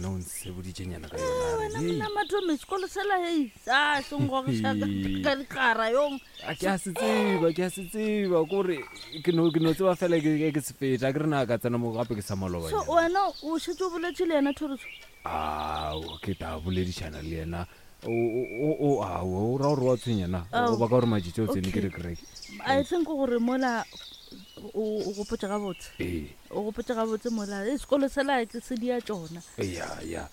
nna o nseboditšenyana ka yona eh, wena monna matome sekolo sela hei sa senggogiša ka dikgara yong A ke a se tseba ke a se tseba kore ke no ke no tseba fela ke ke se feta ke re na ka tsena mo gape ke sa maloba so wena o šetse o boletše le yena thoriso ao ke ta boledišana le yena o ao o ra gore wa tshwenya na o baka gore matšitši o tsene ke re kereke i think gore mola o gopotse gabotse ee o gopotse gabotse mola e sekolo sela ke se dia tšona ya ya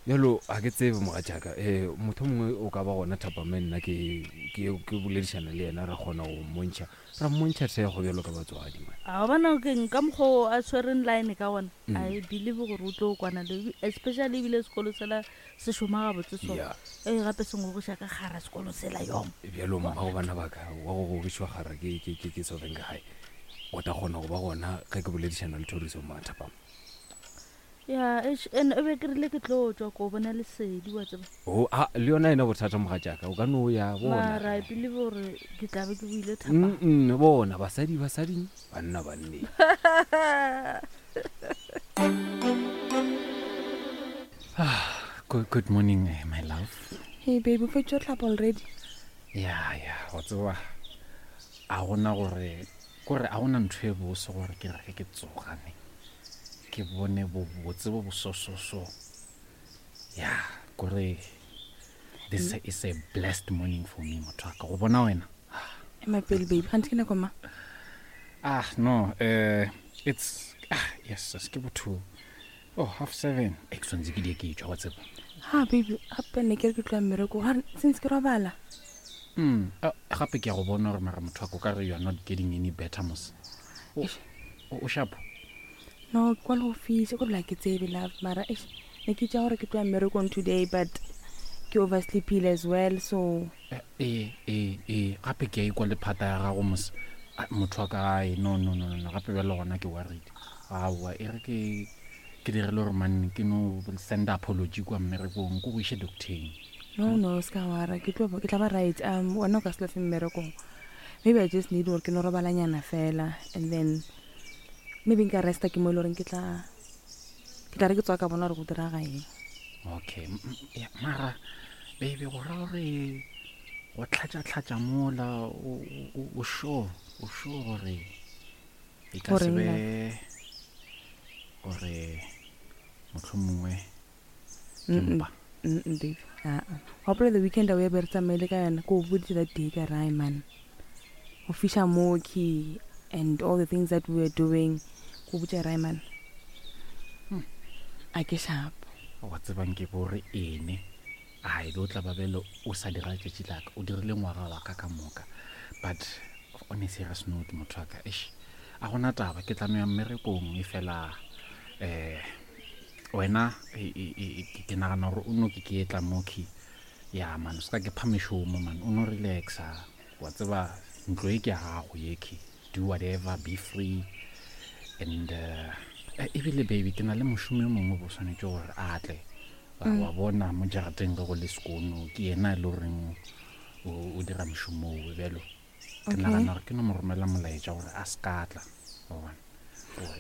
bjalo ga ke tsebe mogatšaka um motho mongwe o ka ba gona thapame nna ke ke boledišana le yena ra kgona go mmontšha ra mmontšha thekgo bjalo ka batswadi man a bona ke ka mokgwa o a tshwereng line ka gona mm. i believe gore o tlo kwana le especially ebile sekolo sela se šoma gabotse so Yeah. ee gape se ngogoša ka gara sekolo sela yong bjalo mmago bana baka wa go gogišwa gara ke ke ke ke sofeng ka gae o tla kgona go ba gona ge ke boledišana le thoriso mathapama ya eish, and e be ke rile ke tlo tswa ko bona lesedi wa tseba o a le yona ena bothata mogatšaka o ka no ya bona mara i believe gore ke tla be ke boile thapama Mm, mm, bona basadi basading banna banneng Good, good morning, eh, my love. Hey baby, o fetše o hlapa already? Ya, ya, wa tseba a gona gore kore a gona ntho e bose gore ke re ge ke tsoga ne ke bone bobotse bo bosososo ya kore this is a blessed morning for me motho wa ka go bona wena Ema pele baby, ganthe ke nako ma? Ah no, uh, it's ah yes, yes ke botho. Oh, half seven. E ke tshwanetse ke die ke tšwa wa tseba. Ha baby, gape ne ke re ke tloa mmereko, ga since ke robala. Mm, ah, gape ke a go bona gore mara motho wa ko ka re you are not getting any better mos. O o sharp. No, ke kwa le go fisa, ko bla ke tsebe love, mara eish, ne ke tša gore ke tloa mmerekong today but ke oversleepile as well so Ee, ee, ee, gape ke a ikwa le phata ya gago mos. Ai, Motho wa ka ai, no, no, no, no, no, gape bjale gona ke worried. Aowa, e re ke ke dirile gore man ke no send apology kwa mmerekong, ko go iše docteng. No, no, se ka wara, ke tlo ke tla ba right. Um, wena o ka se lofe mmerekong. Maybe I just need gore ke no robalanyana fela and then maybe nka resta ke mo e le goreng ke tla ke tla re ke tswa ka bona gore go diraga eng okay ya, mara baby go ra gore go tlhatša-tlhatša mola o sure o sure gore e ka se Goreng be love? gore motlho mongwe ke Mm-mm. mpa Mm-mm, baby aa gopola the weekend a o ya be re tsamaile ka yona ko o boditse that day ka rae man go fiša moki and all the things that we were doing ko botša rae man hmm. a ke sharp wa tsebang ke bore ene a e be o tla ba bele o sa dira letšatši laka o dirile ngwaga wa ka ka moka but on a serious note motho wa ka eish a gona taba ke tla no ya mmerekong e fela um wena e, e, e, ke nagana gore o no ke ke etla moki ya man o se ka ke pha mešomo man o no relaxa Wa tseba ntlo e ke ya gago yekhe do whatever be free and uh, eh, ebile baby ke na le mošomi o mongwe bo swanetše gore a tle mm. wa bona mo jarateng ge go le sekono ke yena e le goreng o dira mošomo owe bjalo ke nagana gore ke no mo romela molaetša gore a se ka tla wa bona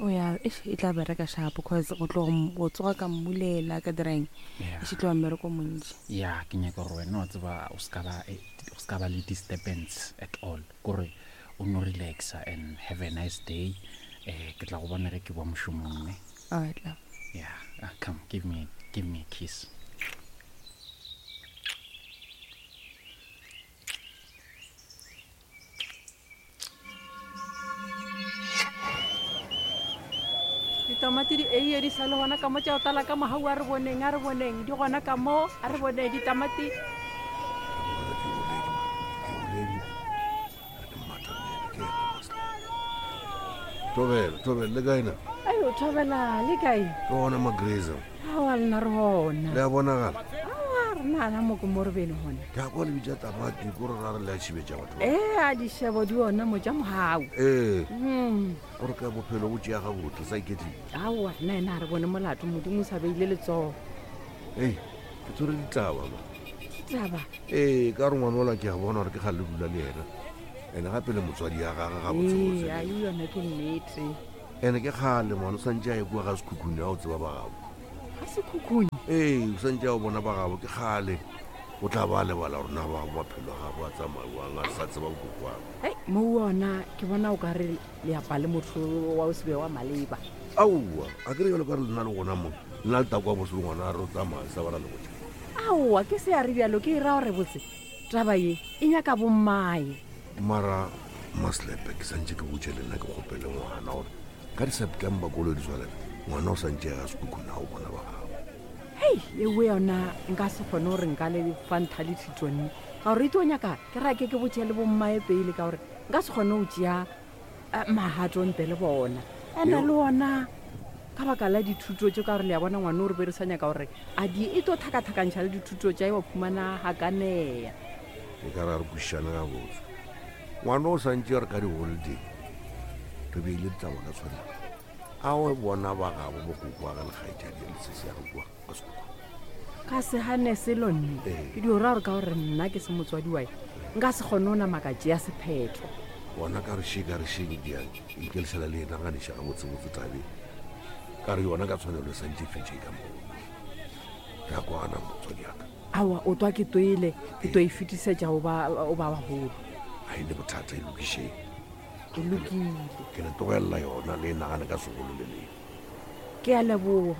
o ya e tla bereka shapo cause go tlo go tsoga ka mmulela ka dirang e se tloa mmereko montši ya ke nyaka gore wena wa tseba o se ka ba eh, o se ka ba le disturbance at all kore o no relaxa and have a nice day eh ke tla go bona ge ke boa mošomong ne all right love yeah ah, come give me give me a kiss ditamati di eiye di sa le gona ka mo tša go tlala ka mogau a re boneng a re boneng di gona ka mo a re boneng ditamati Thobela, thobela, le kae na? Ayo, thobela, le kae? Ke gona Magreza. Aowa, lena re gona. Le a bonagala? Aowa, re nana mo ke mo re bene gona. Ke a kwa le bitša tamati ko re ra re le a tšhibetša batho. ba. Ee, a dišebo di ona mo tša mogau. Ee, Mm. gore ka bophelo bo tšea gabotse sa iketlile. Aowa, rena ena a re bone molato, Modimo o sa beile letsogo. Ei, ke tshwere ditaba ma. Ditaba? Ee, ka gore ngwana ola ke a bona gore ke kgale le dula le yena. Ene gape le motswadi ya gage gabotsebotse. Ee, ai yona ke nnete. Ene ke kgale ngwana o santse a ye kua ga sekhukhune a o tseba ba gabo. Ga Sekhukhune? Ee, o santse a o bona ba gabo ke kgale. O tla ba a lebala gore na ba maphelo a gabo a tsamaiwang a sa tseba bokokwang. Hei, mo ona ke bona o ka re leapa le motho wa o se be wa maleba. Aowa, a ke re jalo ka re lena le gona mo, lena le takwa bose le ngwana a re o tsamaya sa ba ra le botša. Aowa, ke se a re bjalo, ke e ra gore botse taba ye e nyaka bommae. Mara Maslepe ke santše ke botše le nna ke kgopele ngwana gore ka di-September kolo di tswalela ngwana o santše ya Sekhukhune a o bona ba gabo. Hei, ewe yona nka se kgone gore nka le fa ntha le thitone ka gore e tlo nyaka ke rake ke botše le bommae pele ka gore nka se kgone go tšea magato ntle le bona. Ene le ona ka baka la dithuto tše ka gore le a bona ngwane o re be re sa nyaka gore a di e tlo tlhakatlhakantšha le dithuto tša e wa khumana gakanea. E ka ra re kwešišane gabotse. Ngwana o santše re ka di-holiday re beile ditaba ka tshwanelo. A o bona ba gabo bokoko wa ge le kgaetšadi le sesi ya ge kua ka sekoko. Ka se gane selo nne. Ke dio ra gore ka gore nna ke se motswadi wae nka se kgone go nama ka tšea sephetho. Gona ka re še ka re še ke a ikelišana le yena ganiša gabotsebotse tabeng. Ka re yona ka tshwanelo e santše e fetše ka moo. Re a kwana motswadi ya ka. Aowa o twa ke toile ke to e fetisetša go ba go ba bagolo. Ga e ne bothata e lokišeng. E lokile. Ke le tlogelela yona le e nagane ka segolo le leng. Ke a leboga.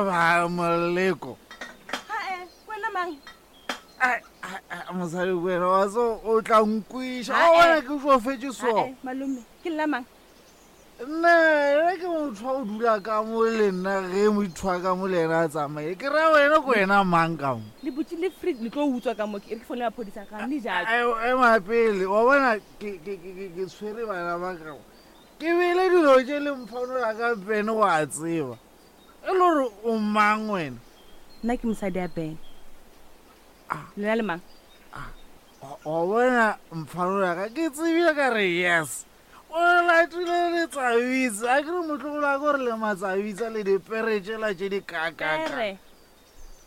Ba moleko. Wena mang? Mosadi wena wa so o tla nkwiša. O bona ke tsofetše so. Malome, ke nna mang? Nna ena ke motho wa go dula ka mo le nna ge motho wa ka mo le ena a tsamaye. Ke ra wena ko wena mang ka mo? Le butše le fridge le tlo utswa ka mo ke re ke founela maphodisa ga ne jalo. Ema pele wa bona ke ke ke ke tshwere bana ba ka. Ke beile dilo tše le mphanola ka pene go a tseba. E le gore o mang wena? Nna ke mosadi ya Ben. Lena le mang? Wa bona mphanola ka ke tsebile ka re yes. O latile letsabitsa a ke re motlogolo a ko re le matsabitsa le dipere tšela tše di kakaka.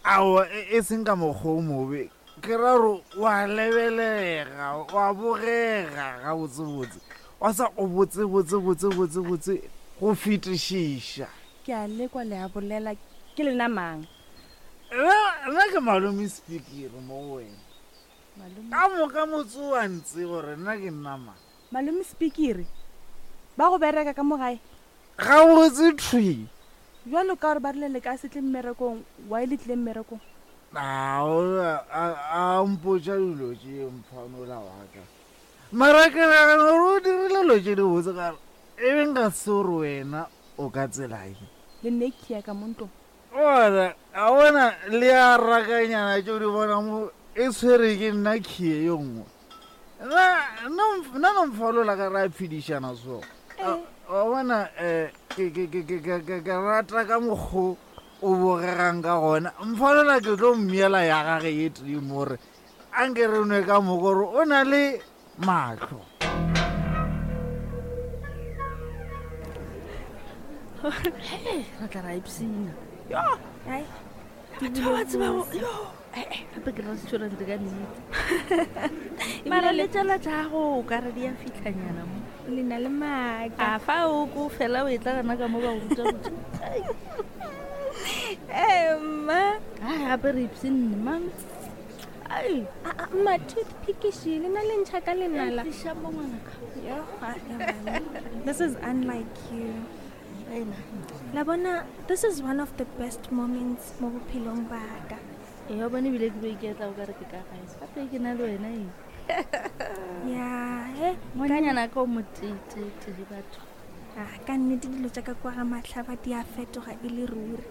Aowa e seng ka mokgwa o mobe ke ra gore wa lebelega wa bogega gabotsebotse wa sa o botse botse botse botse botse go fetišiša. Ke a lekwa le a bolela ke lena mang? Nna ke malome Spikiri mo go wena. Ka moka motse o a ntseba gore nna ke nna mang. Malome Spikiri, ba go bereka ka mo gae? Gabotse thwi. Bjalo ka gore ba rile le ka se tle mmerekong, why le tlile mmerekong? A, a, a mpotša dilo tše mphanola wa ka. Mara ke nagana gore o dirile dilo tše dibotse ka gore e be nka se gore wena o ka tsela ye. Le nne khia ka mo ntlong. Bona, a bona le a rakanyana tše o di bona mo e tshwere ke nna khie yo nngwe. Nna, nna, nna no mfalola ka ra phedišana so. Wa bona, um ke, ke, ke, ke, ke, ke, ke rata ka mokgo o bogegang ka gona. Mfalola ke tlo mmiela ya gage ye tee mo gore a nke re nwe ka moko gore o na le mahlo. Re tla ra ipsina. Yo! Ai. Batho ba tseba yo. Gape ke restaurant ka nnete. Mara le tsela tša go o ka re di a fitlhanyana mo. Le na le maaka. A fa o ko fela o e tla gana ka mo ba go ruta botse. Eh, mma. Ai gape re ipsinne mang. Ai. Mma toothpick she le na le ntšha ka lenala. Tliša mo ngwanaka. Yo, this is unlike you. La bona, this is one of the best moments mo bophelong ba ka. Ee, wa bone ebile ke bo iketla o ka re ke ka gae. Gape ke na le wena eng? Ya, he. Ngwananyana ka o moteetee batho. Ah, ka nnete dilo tša ka kwa ga Mahlaba di a fetoga e le ruri.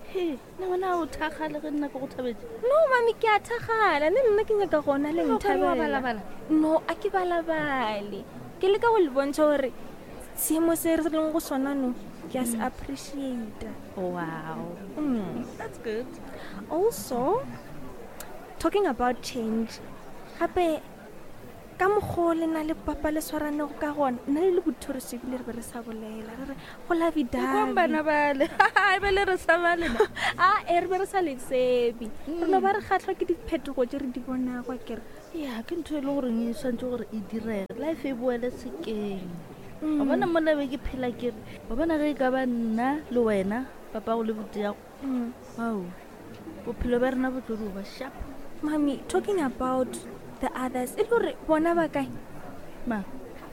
He, na wena o thakgale ge nna ke go thabetše? No, mami, ke a thakgala. Le nna ke nyaka gona le O ka re wa nthabela. balabala? No, a ke balabale. Ke leka go le bontšha gore seemo se re leng go sona no ke a se appreciate. Wow. That's good. Also, talking about change, gape ka mokgwa o le na le papa le swaranego ka gona, nna le le bothoriso ebile re be re sa bolela, re re go lovey-dovey. Kwang bana bale. E be le re sa ba lena. A e re be re sa le tsebe. Re no ba re kgahlwa ke diphetogo tše re di bonago akere. Ya, ke ntho e le goreng e swantse gore e direge, life e boele sekeng. Wa bona mola be ke phela ke re, wa bona ge e ka ba nna le wena, papa go le boteago, ao, bophelo bja rena bo tlo dio ba sharp. Mami, talking about the others, e le gore bona ba kae? Ma?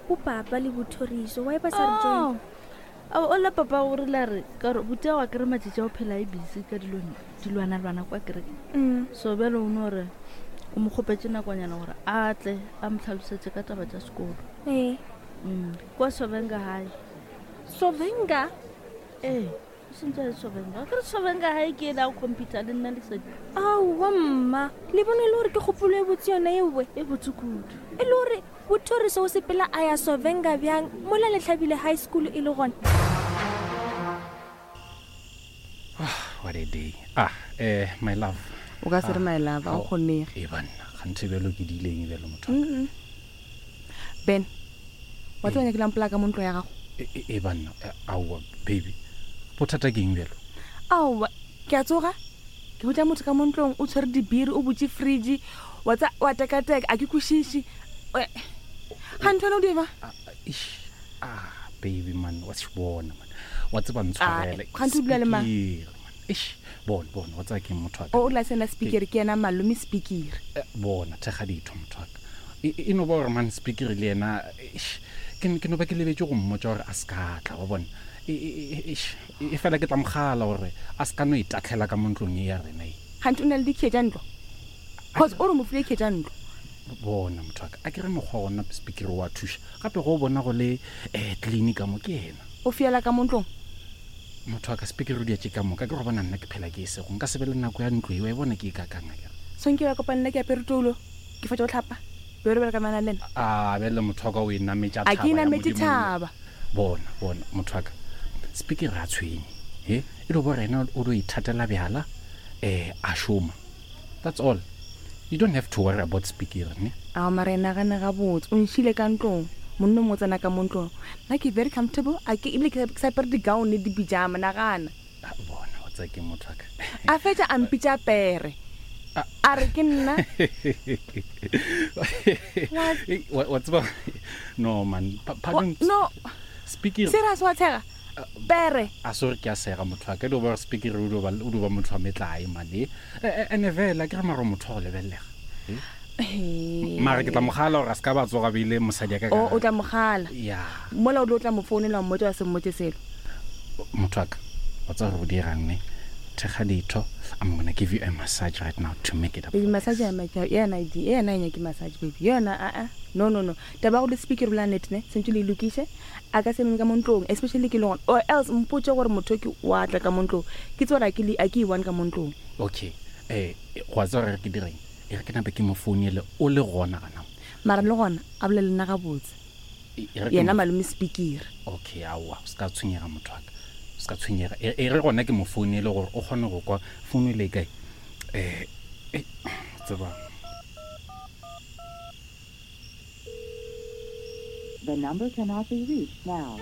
Bo papa le bothoriso, why ba sa re join? Oh. Ao, o la papa o rile a re, ka gore boteago a kere matšatši a o phela e busy ka dilwanalwana kwa kereke. So bjale o no re o mo kgopetše nakonyana gore a tle a mo tlhalosetše ka taba tša sekolo. Ee. Kwa Sovenga High. Sovenga? Ee, o sentse a le Sovenga. Ke re Sovenga High ke ela go computer le nna Lesedi. Aowa mma, le bone e le gore ke kgopolo e botse yona ewe. E botse kudu. E le gore Bothoriso o sepela a ya Sovenga bjang mola Lehlabile High School e le gona? What a day. Ah, eh, my love. O ka se re my love, a o kgonege. E banna, ganthe bjalo ke diileng bjalo motho. Mm. Ben, wa tseba nyakile mpolaya ka mo ntlo ya gago. E, e banna, eh, aowa baby. Bothata ke eng bjalo? Aowa, ke a tsoga. Ke botša motho ka mo ntlong o tshwere dibiri, o butše fridge, wa tsa wa tekateka, a ke kwešiše. Ga ntho wena o di eba? Eish, ah, baby man, wa se bona man. Wa tseba ntshwarele. Ah, kganthe o dula le mang? Speaker, man. Eish, bona, bona, wa tseba ke motho wa ka. O, o la sena speaker, ke yena malome speaker. Eh, bona, thekga ditho motho wa ka. E, e no ba gore man speaker le yena, eish, ke, ke no ba ke lebetše go mmotša gore a se ka tla, wa bona. E, e, e, eish, e fela ke tla mogala gore a se ka no itatlhela ka mo ntlong e ya rena e. Kganthe o na le dikhiye tša ntlo? Cause o re mo file khiye tša ntlo. Bona motho wa ka, a ke re mokgwa gona speaker wa thuša. Gape go o bona go le um clean ka mo ke yena. O fiela ka mo ntlong? Motho wa ka, speaker o dia tše ka moka. Ke go bona nna ke phela ke e sego. Nka se be le nako ya ntlo eo, e bona ke e kakang akere. So nke wa kopana le nna ke apere toulo, ke fetša go hlapa, be re bereka mana le nna. A bjale motho wa ka o e nametša A ke e thaba ya nametše Modimo nna. thaba. Bona, bona, motho wa ka, speaker ga a tshwenye. He, e dio ba gore yena o dio ithatela bjala, um a šoma. That's all. You don't have to worry about speaker, ne? Ao, mara e nagane gabotse. O nšile ka ntlong. Monna o mongwe o tsena ka mo ntlong. Nna ke very comfortable. A ke, ebile ke sa apere di-gown le di-pyjama, nagana. Ah, bona, wa tseba ke motho wa ka. A fetša a mpitša pere. A re ke nna. What? Ei, wa tseba, no man, pardon. No. Speaker. Serious, wa tshega? Pere. A sorry, ke a sega motho wa ka. E dio ba gore speaker o dio ba, o dio ba motho wa metlae man. E, e, ene fela ke re mara motho wa go lebelelega. E? Ee. Mara ke tla mo gala gore a se ka ba tsoga beile mosadi ya ka ka O, o tla mo gala. Ya. Mola o tlo tla mo founela wa mmotša wa se mmotše selo. Motho wa ka, wa tseba gore o dirang ne? Thekga ditho. I'm gonna give you a massage right now to make it up. Baby, massage ya ma- yena e di, yena e nyake massage baby. Yona a a. No no no. Taba ya go le speaker bolela nnete ne, sentse le e lokiše. A ka se meme ka mo ntlong, especially ke le gona. Or else mpotše gore motho ke wa tla ka mo ntlong. Ke tsebe gore a ke le a ke e one ka mo ntlong. Okay. Eh, wa tseba gore ke direng? E re ke nape ke mo founele o le gona gana mo. Mara le gona a bolele le nna gabotse. E, e re ke Yena mo- malome speaker. Okay, aowa, o se ka tshwenyega motho wa ka. O se ka tshwenyega. E, e re gona ke mo founele gore o kgone go kwa founu e le kae. Eh, eh, tseba. The number cannot be reached now.